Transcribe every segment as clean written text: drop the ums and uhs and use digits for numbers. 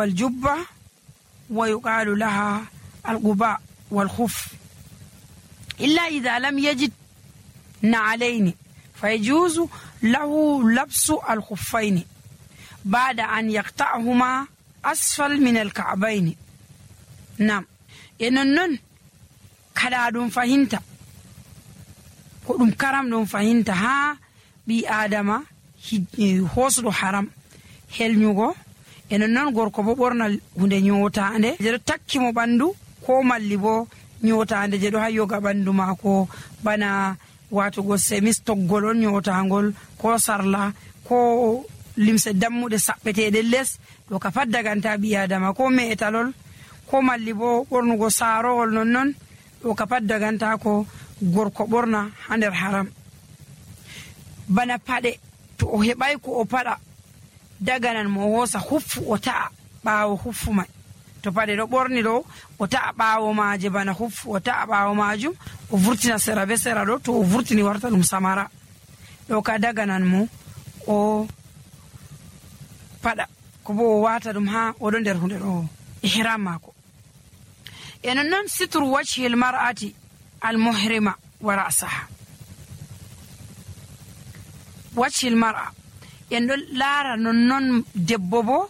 والجبة ويقال لها القباء والخف، إلا إذا لم يجد نعلين فيجوز له لبس الخفين بعد أن يقطعهما أسفل من الكعبين. نعم، إنن kada ɗum fahinta ko ɗum karam ɗum fahinta ha ɓi adama hosuɗo haram helnyugo, enen non gorko bo ɓorna hunde nyotande je ɗo takki mo ɓandu, ko malli bo nyotande je ɗo ha yoga ɓandu mako, bana watugo semis toggol on nyotangol, ko sarla, ko limse dammuɗe saɓɓeteɗe les, ɗo ka pat daganta ɓi adama, ko me'etalol, ko malli bo ɓornugo sarowol nonnon, ɗo ka pat daganta ko gorko ɓorna ha nder haram. Bana paɗe, to o heɓai ko o paɗa daganan mo o hosa huffu o ta'a ɓawo huffu mai, to paɗe ɗo ɓorni ɗo o ta'a ɓawo maje bana huffu o ta'a ɓawo majum o vurtina sera be sera ɗo, to o vurtini warta ɗum samara, ɗo ka daganan mo o paɗa ko bo o wata ɗum ha oɗo nder hunde ɗo ihram mako. enen non sitru wajhil mar'ati al muhrima wa ra'saha. wajhil mar'a en ɗo laara nonnon debbo bo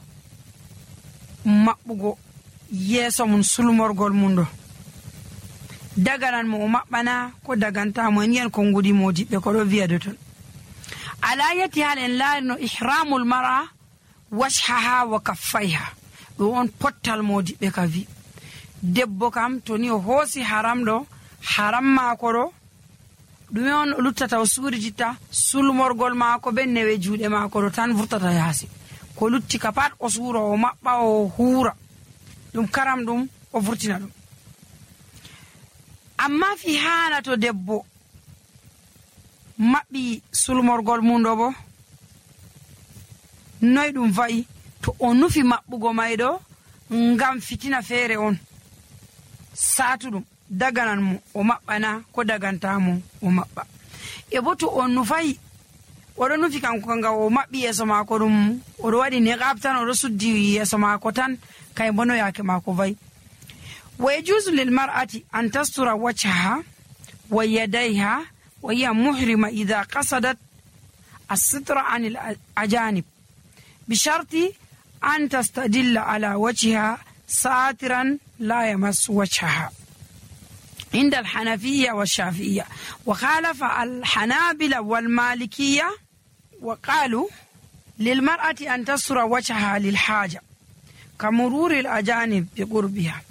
maɓɓugo yeeso mum sulmorgol mum ɗo daganan mo o maɓɓana ko dagantamo, en yen kongudi modiɓɓe ko ɗo wiyade ton. ala yati hal en laari no ihramul mar'a wajhaha wa kaffayha, ɗo on pottal modiɓɓe ka wi debbo kam to ni o hoosi haram ɗo, haram maako ɗo ɗume on o luttata o suurititta sulmorgol maako be newe juuɗe maako ɗo tan vurtata yaasi, ko lutti ka pat o suura o maɓɓa o huura ɗum karam ɗum o vurtina ɗum. amma fi haana to debbo maɓɓi sulmorgol mum ɗo bo noy ɗum va'i, to o nufi maɓɓugo may ɗo ngam fitina feere on saatuɗum daganan mo o maɓɓana ko dagantamo o maɓɓa. e bo to on nufayi oɗo nufi kanko ngam o maɓɓi yeeso maako ɗum oɗo waɗi niqab tan oɗo suddi yeeso maako tan, kay bono yaake maako vayi. wa yajuzu lil mar'ati an tastura wajhaha wa yadayha wa hiya muhrima idha qasadat as-sitra anil ajanib bi sharti an tastadilla ala wajhiha ساترا لا يمس وجهها عند الحنفية والشافعية، وخالف الحنابلة والمالكية وقالوا للمرأة أن تستر وجهها للحاجة كمرور الأجانب بقربها،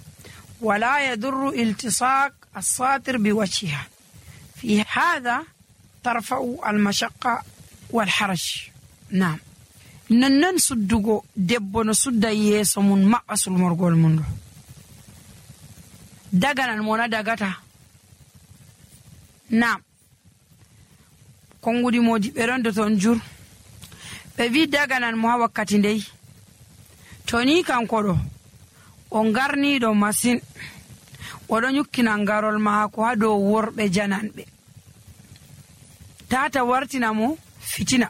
ولا يضر التصاق الساتر بوجهها، في هذا ترفع المشقة والحرج. نعم، nonnon suddugo debbo no sudda yeeso mum maɓɓa sulmorgol mum ɗo daganan mo na dagata. nam kongudi modi ɓe rondo ton jur ɓe wi daganan mo ha wakkati ndey, to ni kanko ɗo o ngarniɗo masin oɗo nyukkina ngarol maako ha dow worɓe jananɓe, tata wartina mo fitina,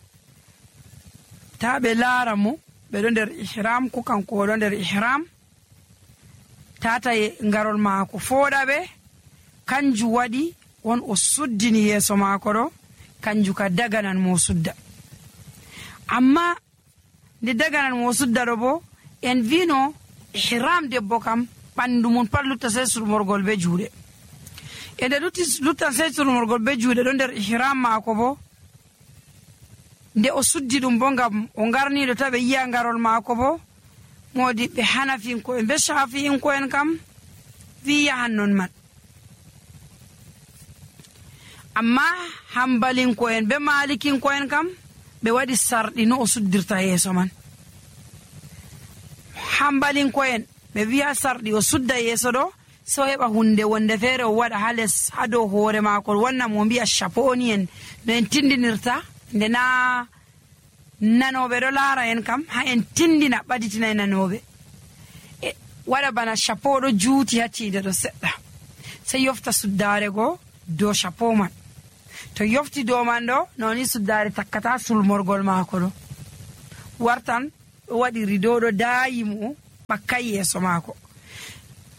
ta ɓe laara mo ɓeɗo nder ihram ko kanko oɗo nder ihram, tata ngarol maako fooɗa ɓe, kanju waɗi won o suddini yeeso maako ɗo, kanju ka daganan mo sudda. amma nde daganan mo sudda ɗo bo en vino ihram debbo kam ɓandu mum pat lutta sey sulmorgol be juuɗe, e nde luttan sey sulmorgol be juuɗe ɗo nder ihram maako bo nde o suddi ɗum bo ngam o ngarniɗo taɓe yiya ngarol maako bo, modiɓɓe hanafinko'en be shafi'inko'en kam wi yahan non man. amma hambalinko'en be malikinko'en kam ɓe waɗi sarɗi no o suddirta yeeso man. hambalinko'en ɓe wiya sarɗi o sudda yeeso ɗo so heɓa hunde wonde feere o waɗa ha les ha dow hoore maako wannan mo mbiya chaponi en no en tindinirta, nde na nanoɓe ɗo laara en kam ha en tindina ɓaditina e nanoɓe, e waɗa bana chapeau ɗo juuti ha tiide ɗo seɗɗa, sey yofta suddare go dow chapeau man, to yofti dow man ɗo noni suddare takkata sulmorgol maako ɗo, wartan ɗo waɗi rideau ɗo daayi mo ɓakkay yeeso maako.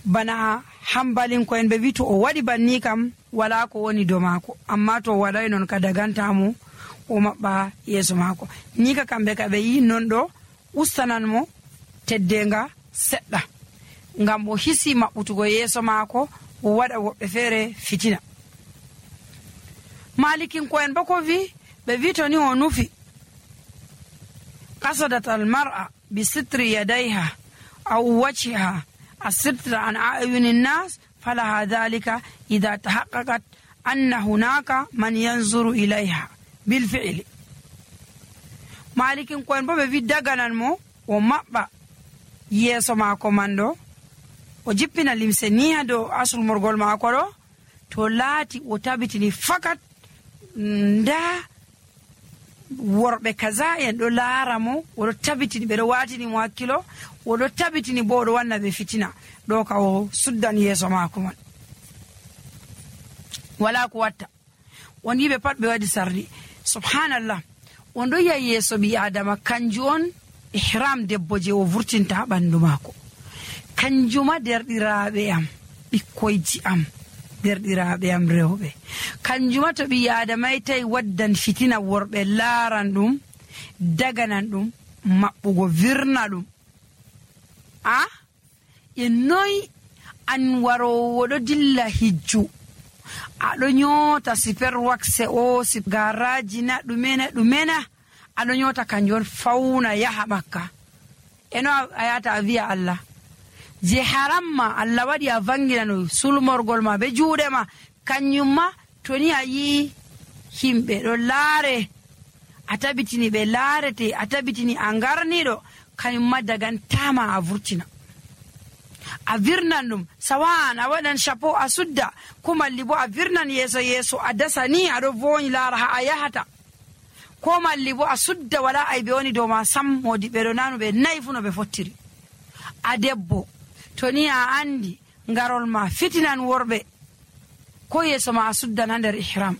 Bana hambalinko'en ɓe wi to o waɗi banni kam wala ko woni dow maako, amma to o waɗay non ka dagantamo o maɓɓa yeeso maako. Ni ka kamɓe ka ɓe yi non ɗo ustanan mo teddenga seɗɗa ngam o hisi maɓɓutugo yeeso maako o waɗa woɓɓe feere fitina. Malikinko'en bo ko wi ɓe wi to ni o nufi qasadat almar'a bi sitri yadayha aw wajhiha asitra an a'yuni nnas falaha dhalika idha tahaqqaqat anna hunaka man yanzuru ilayha bil fi'li. Malikinko'en bo ɓe wi daganan mo o maɓɓa yeeso maako man ɗo o jippina limse ni ha dow asulmorgol maako ɗo to laati o tabitini fakat nda worɓe kaza en ɗo laara mo, oɗo tabitini ɓeɗo watini mo hakkilo, oɗo tabitini bo oɗo wanna ɓe fitina, ɗo ka o suddan yeeso maako man. Wala ko watta on yiɓe pat ɓe waɗi sardi. Subhanallah, on ɗo yi'a yeeso ɓi adama kanju on ihram debbo je o vurtinta ha ɓandu maako. Kanjuma derɗiraɓe am, ɓikkoyji am, derɗiraɓe am rewɓe, kanjuma to ɓi adamay tawi waddan fitina worɓe laaran ɗum daganan ɗum maɓɓugo virna ɗum. E noyi an warowo ɗo dilla hijju aɗo nyota super wakse o garaji na ɗumena aɗo nyota kanjum on fauna yaha Makka. Eno a yata a wiya Allah je haramma Allah waɗi a vanginano sulmorgol ma be juuɗe ma, kanjum ma to ni a yi himɓe ɗo laare a tabitini ɓe laarete, a tabitini a ngarniɗo, kanjum ma dagantama a vurtina a virnan ɗum. Sawan a waɗan chapeau a sudda, ko malli bo a virnan yeeso a dasa ni aɗo voñi laara ha a yahata, ko malli bo a sudda wala aybe woni dow ma sam. Modi ɓeɗo nanu ɓe nayi fu no ɓe fottiri. A debbo to ni a andi ngarol ma fitinan worɓe, ko yeeso ma a suddan ha nder ihram.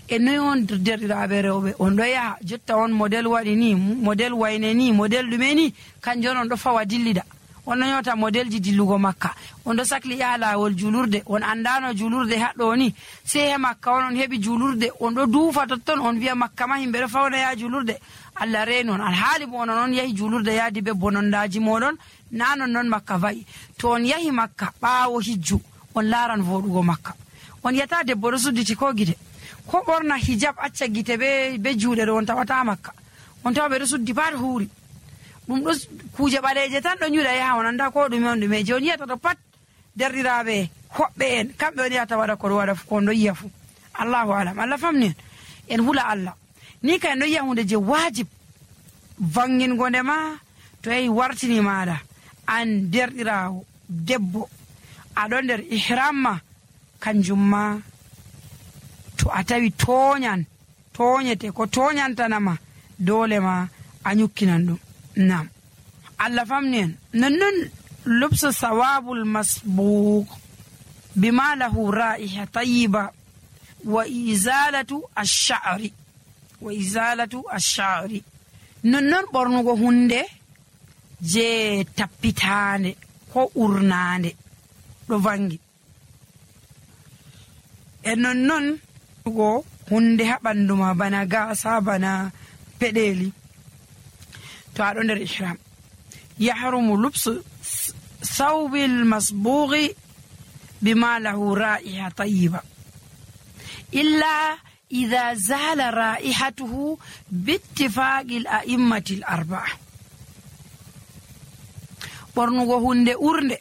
E noyi on derɗiraɓe rewɓe on ɗo yaha jotta on model waɗi ni, model wayne ni, model ɗume ni, kanjum on ɗo fawa dillida. On ɗo nyota model ji dillugo Makka, on ɗo sakli yaha lawol julurde, on andano julurde haɗɗo ni, sai he Makka on heɓi julurde, on ɗo duufa totton on wiya Makka ma himɓe ɗo fawna yaha julurde. Allah reeni on, alhaali bo onon on yahi julurde yaadi be bonondaji moɗon, na non Makka va'i. To on yahi Makka ɓaawo hijju on laaran voɗugo Makka. On yata debbo ɗo sudditi ko gite, ko ɓorna hijab acca gite be juuɗe ɗo on tawata Makka, on tawa ɓe ɗo suddi pat huuri. ɗum ɗo kuje ɓaleje tan ɗo ñuɗa yaha on anda ko ɗume on ɗume je on yiyata to pat derɗiraɓe hoɓɓe en kamɓe on yiyata waɗa koɗo waɗa ko on ɗo yiya fu. Allahu alam, Allah famni en hula Allah ni ka en ɗo yiya hunde je wajib vangingo nde ma to yahi wartini maɗa an derɗirawo debbo aɗo nder ihram ma, kanjum ma to a tawi toñete ko toñantanama dole ma a ñukkinan ɗum. Nam Allah famni en nonnon lubsu sawabul masbuq bima lahu ra'iha tayyiba wa izalatu ash-sha'ri nonnon ɓornugo hunde je tappitande ko urnande ɗo vangi, e nonnon go hunde ha ɓandu ma bana gasa bana peɗeli to aɗo nder ihram. Yahrumu lubsu thawbil masbughi bima lahu ra'iha tayyiba illa idha zala ra'ihatuhu bittifaqi al-a'immati al-arba'a. Ɓornugo hunde urde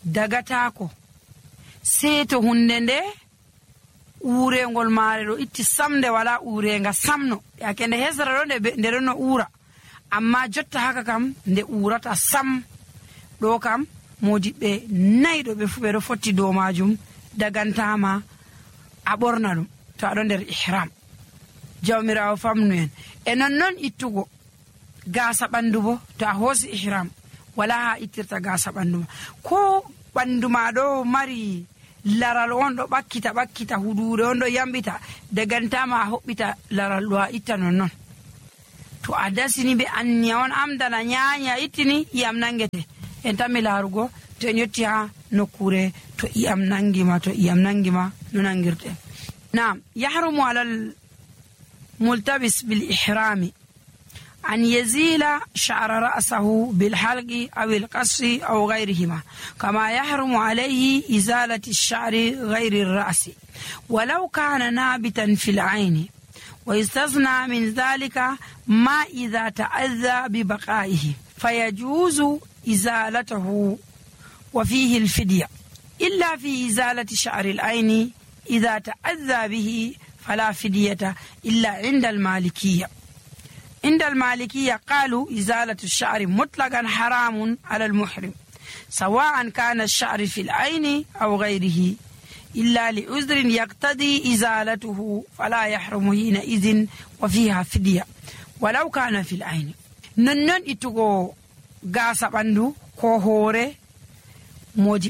dagatako sei to hunde nde urengol maare ɗo itti samde wala urenga samno, yake nde hesra ɗo nde ɗo no ura, amma jotta haka kam nde urata sam. ɗo kam modiɓɓe nayɗo ɓe fu ɓe ɗo fotti dow majum dagantama a ɓorna ɗum to aɗo nder ihram. Jawmirawo famnu en e nonnon ittugo gasa ɓandu bo to a hoosi ihram wala ha ittirta gasa ɓandu ma, ko ɓandu ma ɗo mari laral on ɗo ɓakkita hudure on ɗo yambita dagantama a hoɓɓita laral ɗo a itta nonnon. To to a dasini ɓe anniya on amdana nyanya ittini iyam nangete en tammi laarugo to en yetti ha nokkure to iyam nangima no nangirte. Naam, yahrumu alal multabis bil ihrami أن يزيل شعر رأسه بالحلق أو القص أو غيرهما كما يحرم عليه إزالة الشعر غير الرأس ولو كان نابتا في العين، ويستثنى من ذلك ما إذا تأذى ببقائه فيجوز إزالته وفيه الفدية، إلا في إزالة شعر العين إذا تأذى به فلا فدية إلا عند المالكية. عند المالكية قالوا إزالة الشعر مطلقا حرام على المحرم سواء كان الشعر في العين أو غيره إلا لعذر يقتضي إزالته فلا يحرم حينئذ وفيها فدية ولو كان في العين. ننن إتغو غاسا بندو كو هوري موجي